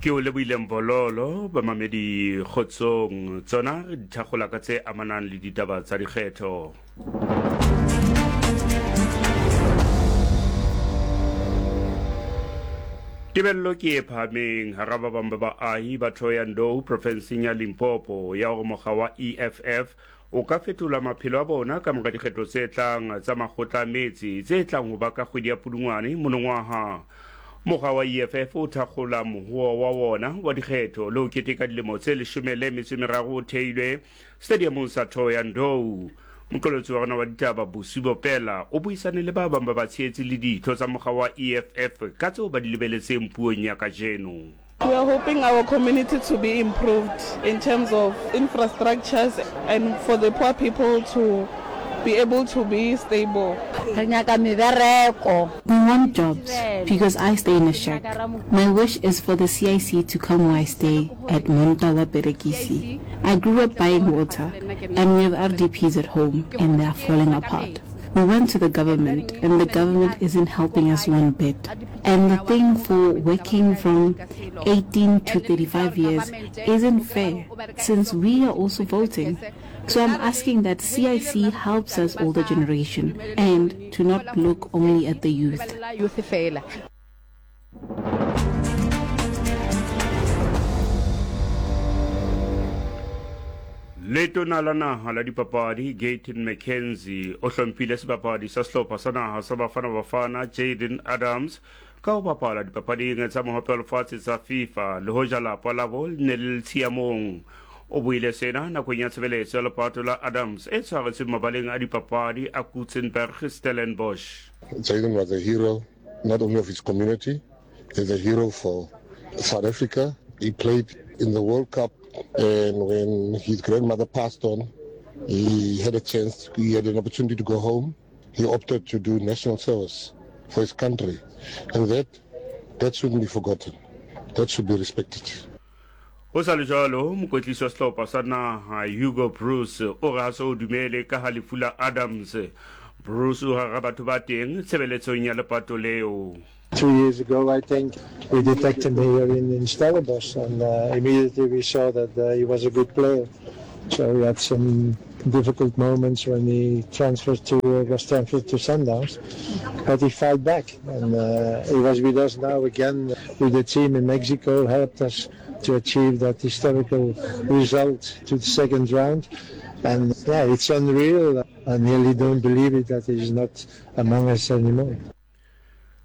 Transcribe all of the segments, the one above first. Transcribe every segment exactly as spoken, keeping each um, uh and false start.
Ke o lebohile Mbololo, bamamedi kgotsong tsona re di thakgola ka tse amanang le ditaba tsa dikgetho. Tebello ke e phahameng hara ba bang ba baahi ba Thohoyandou profenseng ya Limpopo ya hore mokga wa E F F o ka fetola maphelo a bona ka mora dikgetho tse tlang tsa makgotla a metse tse tlang ho ba ka kgwedi ya Pudungwane monongwaha. Mokga wa E F F o thakgola mohoa wa wona wa dikgetho le ho keteka dilemo tse leshome le metso e meraro o theilwe stadiumong sa Thohoyandou. Moqolotsi wa rona wa ditaba Busi Bopela o buisane le ba bang ba batshehetsi le ditho tsa mokga wa E F F ka tseo ba di lebeletseng puong ya kajeno. We are hoping our community to be improved in terms of infrastructures and for the poor people to be able to be stable. Re nyaka mebereko. We want jobs because I stay in a shack. My wish is for the C I C to come where I stay at Monta wa Perekisi. I grew up buying water and we have R D Ps at home and they are falling apart. We went to the government and the government isn't helping us one bit. And the thing for working from eighteen to thirty-five years isn't fair since we are also voting. So I'm asking that C I C helps us older generation and to not look only at the youth. Letona la naha la dipapadi Gayton McKenzie o hlomphile sebapadi sa sehlopha sa naha sa Bafana Bafana Jaden Adams ka ho bapala dipapading tsa mohope wa lefatshe tsa FIFA le hoja lapa labo le ne le le tshiamong. O buile sena nakong ya tshebeletso ya lepato la Adams e tshwaretsweng mabaleng a dipapadi a Coetzenburg Stellenbosch. Jaden was a hero not only of his community, he's a hero for South Africa. He played in the World Cup, and when his grandmother passed on, he had a chance, he had an opportunity to go home. He opted to do national service for his country, and that, that shouldn't be forgotten. That should be respected. Ho sa le jwalo, mokwetlisi wa sehlopha sa naha Hugo Broos o re ha se o dumele ka ha lefu la Adams. Broos o hara batho ba teng tshebeletsong ya lepato leo. Two years ago, I think, we detected him here in, in Stellenbosch, and, uh, immediately we saw that, uh, he was a good player. So he had some difficult moments when he transferred to, uh, was transferred to Sundowns, but he fought back, and, uh, he was with us now again with the team in Mexico, helped us to achieve that historical result to the second round. And yeah, it's unreal. I nearly don't believe it that he's not among us anymore.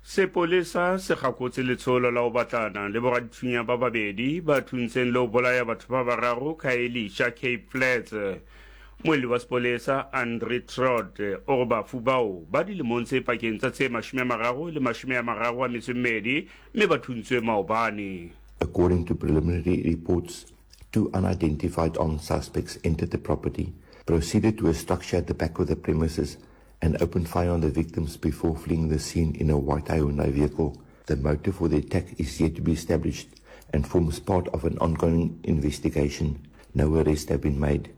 Sepolesa se kgakotse letsholo la ho batlana le boradithunya ba babedi ba thuntseng le ho bolaya batho ba bararo Khayelitsha Cape Flats. Moeli wa sepolesa Andre Trott o re bafu bao ba dilemong tse pakeng tsa tse mashome a mararo le mashome a mararo a metso e mmedi mme ba thuntswe maobane. According to preliminary reports, two unidentified armed suspects entered the property, proceeded to a structure at the back of the premises, and opened fire on the victims before fleeing the scene in a white Hyundai vehicle. The motive for the attack is yet to be established and forms part of an ongoing investigation. No arrests have been made.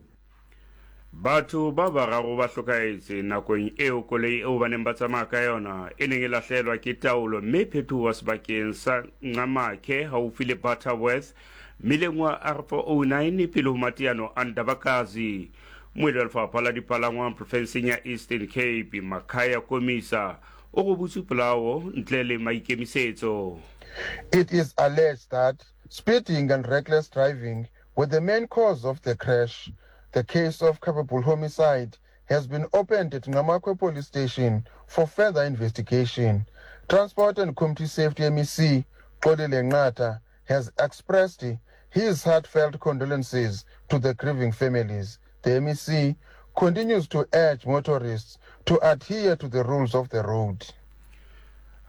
Batho ba bararo ba hlokahetse nakong eo koloi eo ba neng ba tsamaya ka yona e neng e lahlelwa ke taolo mme phetoho sebakeng sa Nqamakhe haufi le Butterworth mmileng wa R four oh nine pele ho mateano a Ndabakazi. Moedi wa lefapha la dipalangwang profenseng ya Eastern Cape Makhaya Komisa o robotse polao ntle le maikemisetso. It is alleged that speeding and reckless driving were the main cause of the crash. The case of culpable homicide has been opened at Nqamakwe Police Station for further investigation. Transport and Community Safety M E C Xolile Nqatha has expressed his heartfelt condolences to the grieving families. The M E C continues to urge motorists to adhere to the rules of the road.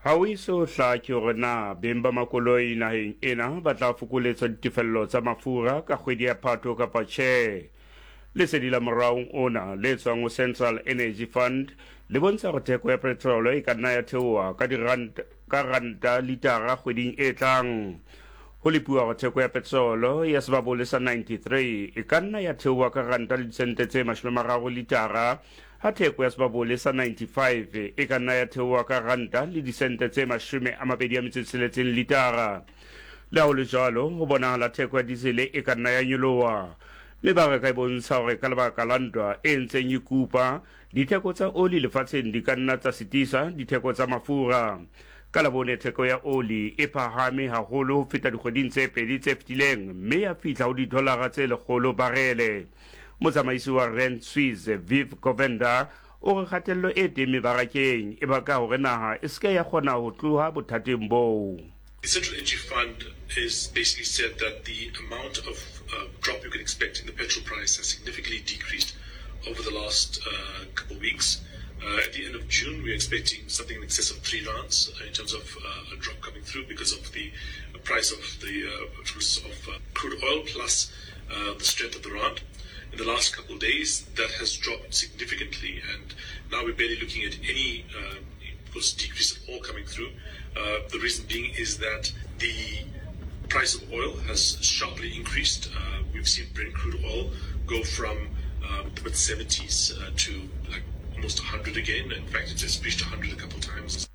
Ha o eso hlake hore na beng ba makoloi naheng ena ba tla fokoletswa ditefello tsa mafura ka kgwedi ya Phato kapa tjhe. Lesedi la moraong ona le tswang ho Central Energy Fund le bontsha hore theko ya petrol e ka nna ya theoha ka diranta ka ranta litara kgweding e tlang. Ho lepuwa hore theko ya petrol ya sebabole sa ninety-three e ka nna ya theoha ka ranta le disente tse mashome a mararo litara, ha theko ya sebabole sa ninety-five e ka nna ya theoha ka ranta le disente tse mashome a mabedi a metso e tsheletseng litara. Le ha ho le jwalo, ho bonahala theko ya diesele e ka nna ya nyoloha. Mebaraka e bontsha hore ka lebaka la ntwa e ntseng e kupa, ditheko tsa oli lefatsheng di ka nna tsa sitisa ditheko tsa mafura. Ka Labone theko ya oli e phahame haholo ho feta dikgweding tse pedi tse fetileng mme ya fihla ho didolara tse lekgolo barele. Motsamaisi wa Rand Swiss, Viv Govender, o re kgatello e teng mebarakeng e baka hore naha e se ke ya kgona ho tloha bothateng boo. The Central Energy Fund has basically said that the amount of uh, drop you can expect in the petrol price has significantly decreased over the last uh, couple of weeks. Uh, at the end of June, we're expecting something in excess of three rands in terms of uh, a drop coming through because of the price of the uh, of uh, crude oil plus uh, the strength of the rand. In the last couple of days, that has dropped significantly, and now we're barely looking at any uh, decrease at all coming through. Uh, the reason being is that the price of oil has sharply increased. Uh, we've seen Brent crude oil go from uh, the mid seventies uh, to like almost a hundred again. In fact, it has reached a hundred a couple of times.